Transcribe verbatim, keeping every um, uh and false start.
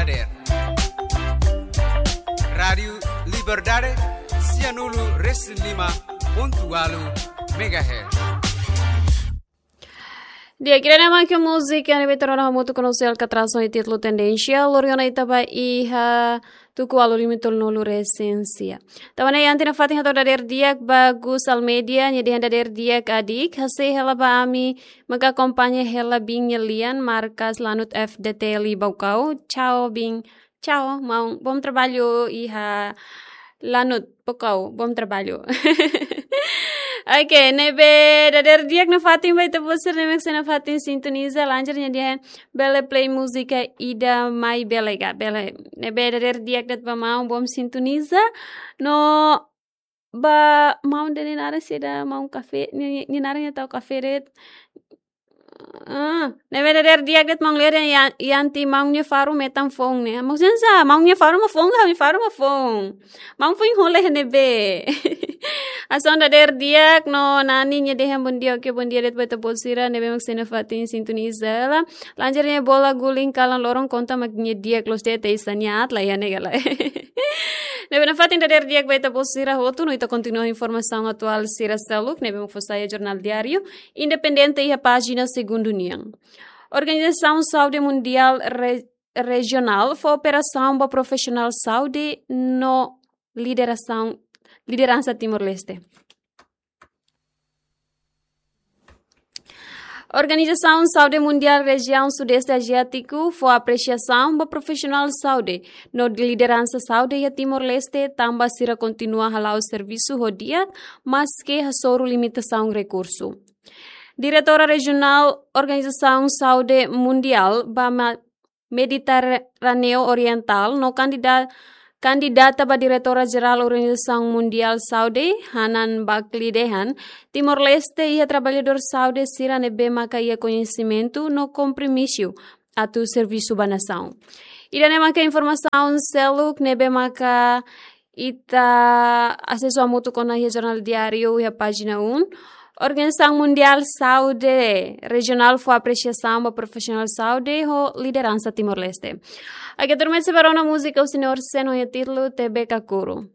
Dader. Rádiu Liberdade, sianulu resin lima pontu ualu megahertz. Di'ak, ida-ne'e mak múzika ne'ebé torona hamutuk ho nossa alkatrasaun ho títulu Tendénsia, lori ona ita ba iha tuku ualu lima tolunulu resin sia. Tanba ne'e iha ne'e fatin hato'o dader di'ak ba Gus Almeida, nia dehan dader di'ak adik, hasai hela ba ami maka akompaña hela biin nia lian, markas Lanut F D T L Baucau. Tchau, biin. Tchau, maun. Bom trabalho iha Lanut, Baucau. Bom trabalho. Oke, ne'ebé dader di'ak nafatin ba ita-boot sira ne'ebé mak sei nafatin sintoniza, lanjar nia dehan bele play múzika ida mai bele ka, bele. Ne'ebé dader di'ak de'it ba maun, bom sintoniza. No ba maun ida-ne'e naran saida, maun kafé, nia, nia, nia naran nia tau kafé de'it. Ah, ne'ebé dader di'ak de'it maun Leri, iha, iha nia maun nia faru metan foun ne'e. Maksudnya sá, maun nia faru mak foun ka, nia faru mak foun. Maun foin hola iha ne'ebé. Hanesan dader di'ak no Nani nia dehan bom dia, oke, bom dia de'it ba ita-boot sira ne'ebé mak sei nafatin sintoniza hela. Lanjar nia bola guling kalan loron konta mak nia di'ak loos de'it, hanesan nia aat la iha ne'e ka lae. Ne'ebé nafatin dader di'ak ba ita-boot sira hotu no ita kontinua informasaun atuál sira seluk ne'ebé mak fó sai iha Jornál Diáriu Independente iha pájina segundu nian. Organizasaun Saúde Mundiál Re-, Rejionál fó apresiasaun ba profisionál saúde no liderasaun, lideransa Timor-Leste. Organizasaun Saúde Mundiál Rejiaun Sudeste Aziátiku fó apresiasaun ba profisionál saúde no lideransa saúde iha Timor-Leste, tanba sira kontinua hala'o servisu ho di'ak, maski hasoru limitasaun rekursu. Diretora Rejionál Organizasaun Saúde Mundiál ba ma-, Mediterráneu Orientál no kandida-, kandidata ba Diretora Jerál Organizasaun Mundiál Saúde, Hannah Buckley dehan, Timor-Leste iha traballadór saúde sira ne'ebé maka iha koñesimentu no kompromisu atu servisu ba nasaun. Ida-ne'e maka informasaun seluk ne'ebé maka ita asesu hamutuk ona iha Jornál Diáriu iha pájina um. Organizasaun Mundiál Saúde Rejionál fó apresiasaun ba profisionál saúde ho lideransa Timor-Leste. Oke, tuirmai sei bá rona múzika husi Neorsen ho nia títulu Tebe Kakuru.